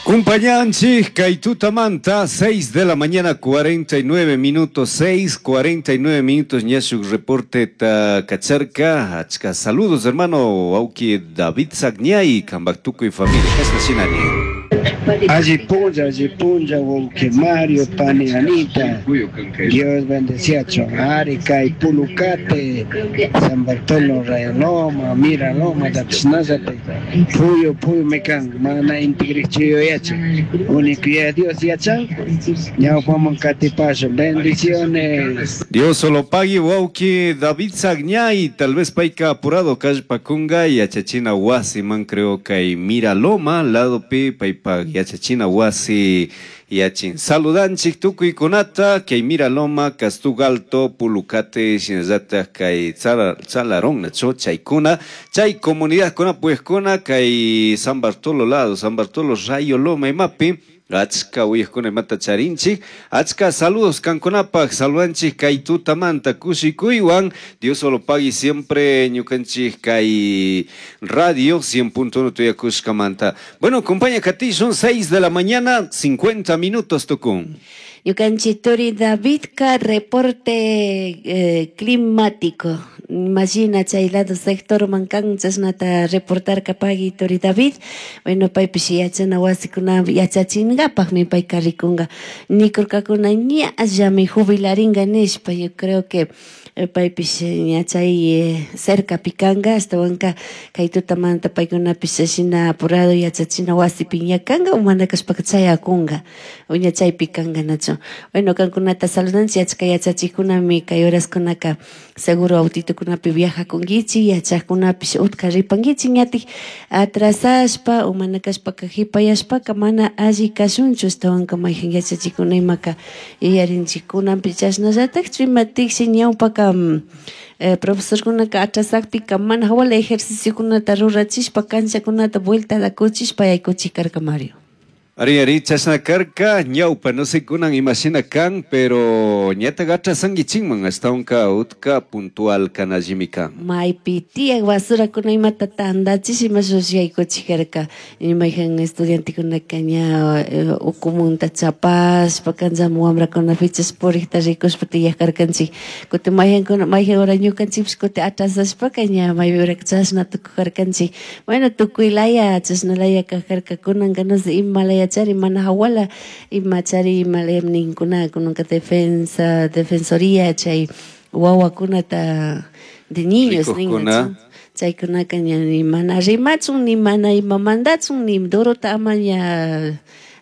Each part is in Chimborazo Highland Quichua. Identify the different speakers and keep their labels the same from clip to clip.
Speaker 1: Compañanchik kay tutamanta 6 de la mañana 49 minutos, 6:49 minutos, ña shuk reporte ta kacharka. Achka saludos, hermano wauki David Sagñay, kambak tukuy familia. Kashna shinani.
Speaker 2: Alli punlla, alli punlla, wauki Mario, pani Anita. Dios bendeciachun. Ari kay Pulucate, San Bartolo, Rayoloma, Miraloma, Tapsnazate, Puyo, Puyo mekan, mana intigrichiyo yachan. Único ya Dios yachan, ñawpaman katipasha. Bendiciones.
Speaker 1: Dios solo pague, wauki David Sagñay, tal vez payka apurado kallpakunga yachachina wasi man creo kay Miraloma, lado pi paypa yachachina wasi yachin. Saludanchik tukuykunata kay Miraloma, Castugalto, Pulucate, shinallata kay Tzalarón, nacho, chaykuna, chay comunidad kuna puejkuna kay San Bartolo lado, San Bartolo Rayo Loma imapi. Achka uyajkuna imata charinchik, achka saludos kankunapaj, saludanchik kay tutamanta kushikuywan, Dios solo pague siempre ñukanchik kay radio 100.1 tuyakushkamanta. Bueno, compañía Katy, son 6 de la mañana, 50 minutos tukun.
Speaker 3: Ñukanchik turi Davidka reporte climático. Imagina chay lado sector mankan chashnata reportarka pagui turi David. Bueno, paypish yachana wasikuna yachachingapajmi payka rikunga. Nikurkakuna ñallami jubilaringa nishpa. Yo creo que paypish ña chay cerca pikanga, ashtawanka kay tutamanta paykunapish shina apurado yachachina wasipi ña kanga, mana kashpaka chayakunga, o ña chaypi kanga nachu. Bueno, kankunata saludanchik, achka yachachikunami kay horaskunaka seguro autitokunapi viajakunkichik, yachajkunapish utka ripankichik, ñatik atrasashpa o mana kashpaka jipayashpaka mana alli kashunchu, ashtawanka mayjan yachachikuna imaka yuyarinchik kunanpi chashnallatakchu imatiksi ñawpaka, profesorkunaka atrasakpika mana hawala ejerciciokunata rurachishpa canchakunata vuelta kuchishpa yaykuchik karka Mario.
Speaker 1: Ari, ari, chashna karka, ñawpa, no sé kunan imashina kan, pero ñata atrasankichikman, ashtawanka utka puntual kanallimi kan.
Speaker 3: Maypi tiyak basurakuna imata tandachish ima shush yaykuchik karka. Mayjan estudiantekunaka ña ukumunta chapashpa kanchaman wamrakuna fichas purikta rikushpa tiyak karkanchik. Kutin mayjankuna, mayjan hora ñukanchikpish kutin atrasashpaka ña maypi hora chashna tukujarkanchik. Bueno, tukuy laya, chashna laya kajarka, kunanka no sé, ima laya chari, mana hawala, ima chari, ima laya ninkuna, kunanka defensa, defensoría, chay wawakunata de niños,
Speaker 1: Rikukuna.
Speaker 3: ninga, chaykunaka ña ni mana rimachun, ni mana ima mandachun, ni dorota ama ña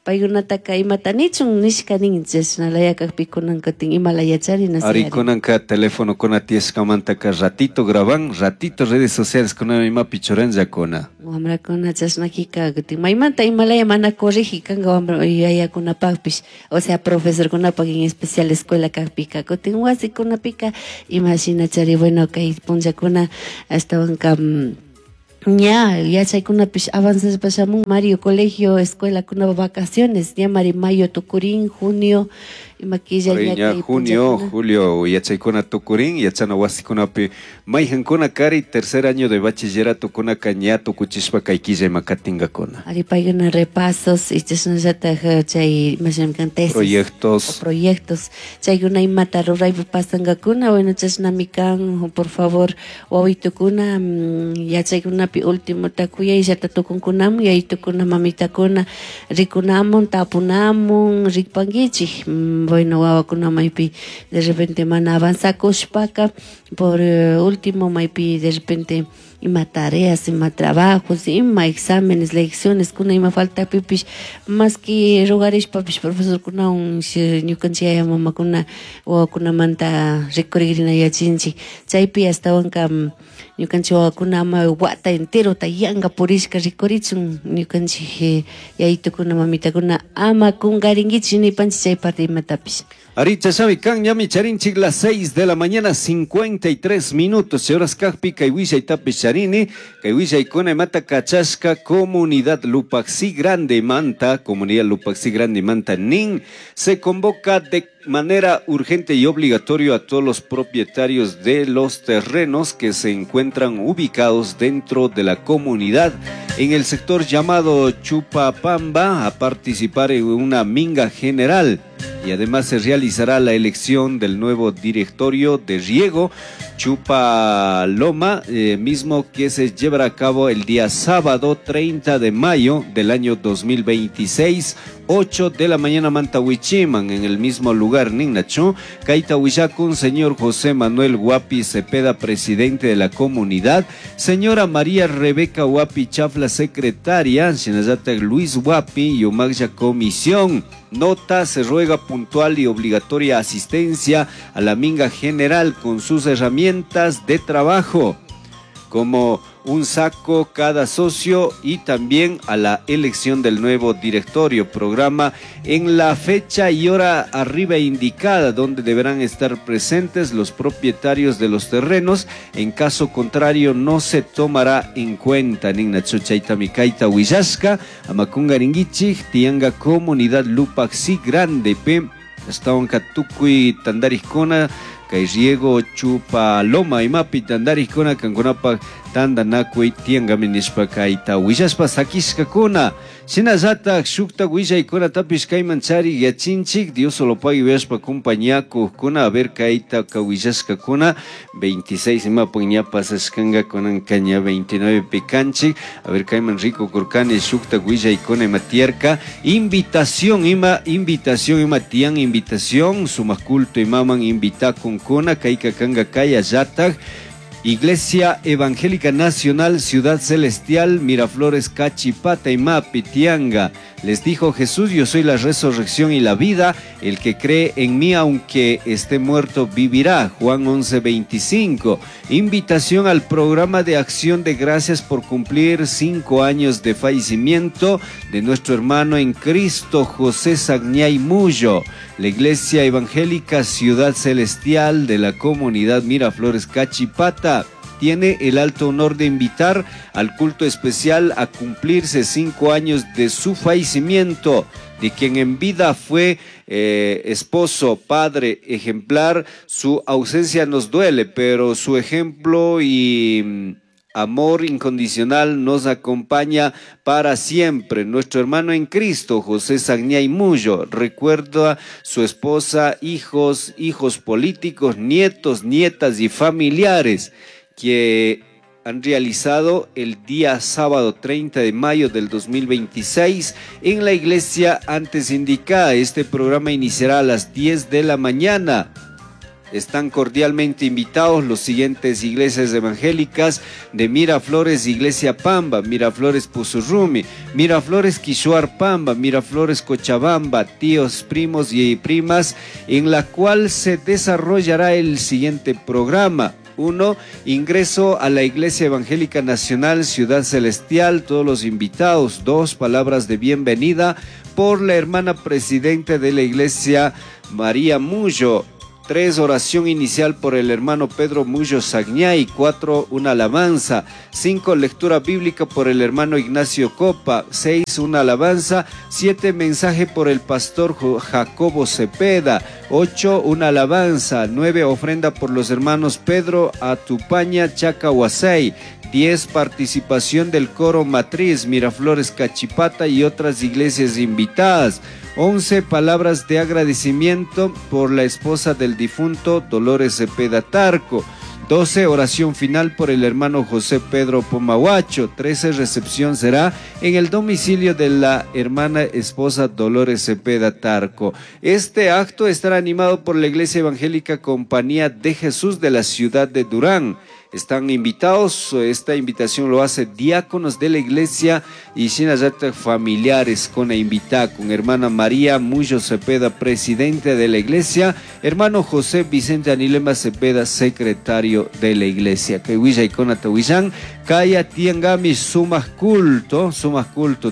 Speaker 3: paykunataka imata nichun nishka nin, chashna laya kakpi kunanka tin ima laya chari, no sé,
Speaker 1: Ari
Speaker 3: ari.
Speaker 1: kunanka teléfono kuna tiyashkamantaka ratito graban, ratito redes sociales kuna imapi churanllakuna.
Speaker 3: Wamrakuna chashna kika kutin maymanta ima laya mana corrigi kanka wamra yayakunapakpish, o sea profesorkunapak en especial escuela kakpika, kutin wasikunapika ima shina chari, bueno, kay punllakuna ashtawanka, ña yachaykunapish avanzashpa shamun Mario, colegio, escuela kuna vacaciones, ña mari mayo tukurin, junio, ima killa
Speaker 1: Ari
Speaker 3: ña
Speaker 1: ña
Speaker 3: kay
Speaker 1: junio,
Speaker 3: punllakuna.
Speaker 1: julio yachaykuna tukurin, yachana wasikunapi mayjankuna kari tercer año de bachillerato kunaka ña tukuchishpa kay killa ima katingakuna.
Speaker 3: Ari paykuna repasos y chashnallataj chay ima shinami kan tesis.
Speaker 1: Proyectos.
Speaker 3: O proyectos. Chaykuna imata ruraypi pasankakuna, bueno, chashnami kan, por favor, wawitukuna, yachaykunapi ultimota kuyayllata tukunkunamun, yayitukuna, mamitakuna, rikunamun, tapunamun, rikpankichik. Bueno, wawakuna maypi de repente mana avanzakushpaka, por último maypi de repente ima tareas, ima trabajos, ima exámenes, lecciones, kuna ima falta pipish, más que rogarishpapish profesor kuna un ñukanchik yaya mamakuna wawakunamanta rikurigirina yachinchik. Chaypi ashtawanka, ñukanchik wawakuna ama wata enterota yanka purishka rikurichun ñukanchik yayitukuna mamitakuna ama kunkarinkichik nipanchik chay parte imatapish.
Speaker 1: Ari, chashavi kan, ñami charinchik las 6 de la mañana, 53 minutos. Señoras kajpi, kay wishay tapi charini, kay wishay kuna imata kachashka, comunidad Lupaxi Grande Manta, comunidad Lupaxi Grande Manta nin, se convoca de manera urgente y obligatorio a todos los propietarios de los terrenos que se encuentran ubicados dentro de la comunidad en el sector llamado Chupapamba a participar en una minga general. Y además se realizará la elección del nuevo directorio de riego Chupaloma, mismo que se llevará a cabo el día sábado 30 de mayo del año 2026, 8 de la mañana Mantahuichiman, en el mismo lugar, Ninnachu, Kaita Huillacun, señor José Manuel Guapi Cepeda, presidente de la comunidad, señora María Rebeca Guapi Chafla, secretaria, Shinayata Luis Guapi y Omagya Comisión. Nota, se ruega puntual y obligatoria asistencia a la minga general con sus herramientas de trabajo, como un saco cada socio, y también a la elección del nuevo directorio. Programa en la fecha y hora arriba indicada, donde deberán estar presentes los propietarios de los terrenos. En caso contrario, no se tomará en cuenta. Ningna chuchaita mikaita huillashka, amakunga ringuichik, tianga comunidad Lupaxi Grande, pe, estaban katukuy tandarikuna, kay riego Chupaloma imapi tandarikuna kankunapa tandanakuy tiangami nishpa kayta willashpa sakishkakuna. Shinallatak shukta willaykunatapish kayman chari yachinchik, Dios solo pague uyashpa compañiakukuna, a ver kayta kawillashkakuna 26 imapuk ña pasashkanka kunanka ña 29 pikanchik, a ver kayman rico kurkani shukta willaykuna ima tiyarka, invitación ima, invitación ima tiyan invitación, sumak culto imaman invitakunkuna, kayka kanka kayallatak Iglesia Evangélica Nacional Ciudad Celestial, Miraflores, Cachipata y Mapi, Tianga. Les dijo Jesús, yo soy la resurrección y la vida, el que cree en mí, aunque esté muerto, vivirá. Juan 11:25. Invitación al programa de acción de gracias por cumplir 5 años de fallecimiento de nuestro hermano en Cristo, José Sagñay Mullo. La Iglesia Evangélica Ciudad Celestial de la comunidad Miraflores, Cachipata, tiene el alto honor de invitar al culto especial a cumplirse 5 años de su fallecimiento, de quien en vida fue esposo, padre, ejemplar. Su ausencia nos duele, pero su ejemplo y amor incondicional nos acompaña para siempre. Nuestro hermano en Cristo, José Sagñay Mullo, recuerda su esposa, hijos, hijos políticos, nietos, nietas y familiares que han realizado el día sábado 30 de mayo del 2026 en la iglesia antes indicada. Este programa iniciará a las 10 de la mañana. Están cordialmente invitados los siguientes iglesias evangélicas de Miraflores, Iglesia Pamba, Miraflores Pusurrumi, Miraflores Quishuar Pamba, Miraflores Cochabamba, tíos, primos y primas, en la cual se desarrollará el siguiente programa. 1. Ingreso a la Iglesia Evangélica Nacional Ciudad Celestial, todos los invitados. 2. Palabras de bienvenida por la hermana presidenta de la Iglesia, María Mullo. 3. Oración inicial por el hermano Pedro Mullo Sagñay. 4. Una alabanza. 5. Lectura bíblica por el hermano Ignacio Copa. 6. Una alabanza. 7. Mensaje por el pastor Jacobo Cepeda. 8. Una alabanza. 9. Ofrenda por los hermanos Pedro Atupaña Chacahuasay. 10. Participación del coro matriz Miraflores Cachipata y otras iglesias invitadas. 11. Palabras de agradecimiento por la esposa del difunto Dolores Cepeda Tarco. 12. Oración final por el hermano José Pedro Pomahuacho. 13. Recepción será en el domicilio de la hermana esposa Dolores Cepeda Tarco. Este acto estará animado por la Iglesia Evangélica Compañía de Jesús de la ciudad de Durán. Están invitados, esta invitación lo hace diáconos de la iglesia y Shinayata familiares con la invitada, con hermana María Mullo Cepeda, presidente de la iglesia, hermano José Vicente Anilema Cepeda, secretario de la iglesia. Que huilla y con atahuillán, Kaya Tiangami sumas culto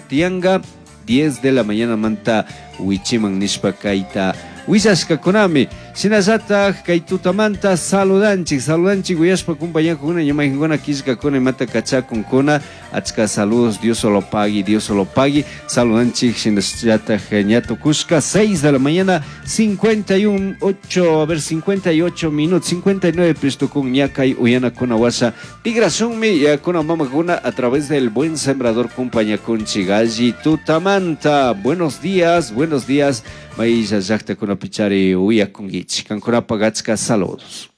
Speaker 1: Tianga, 10 de la mañana manta Huichiman Nishpa Kaita. Huillashka kunami. Shinallataj kay tutamanta saludanchik, saludanchik uyashpa kumpañakuna ñumaykunkuna killkakuna imata kachakunkuna achka saludos Dios solo pagui, Dios solo pagui. Saludanchik shinallataj ña tukushka 6 de la mañana 51 8 a ver 58 minutos 59 pistukun ña kay uyanakuna washa tigrasunmi yakuna mamakuna a través del buen sembrador kumpañakunchik alli tutamanta. Buenos días, buenos días. Maylla llaqtakunapi chari uyakunkichik. Kankunapaq achka saludos.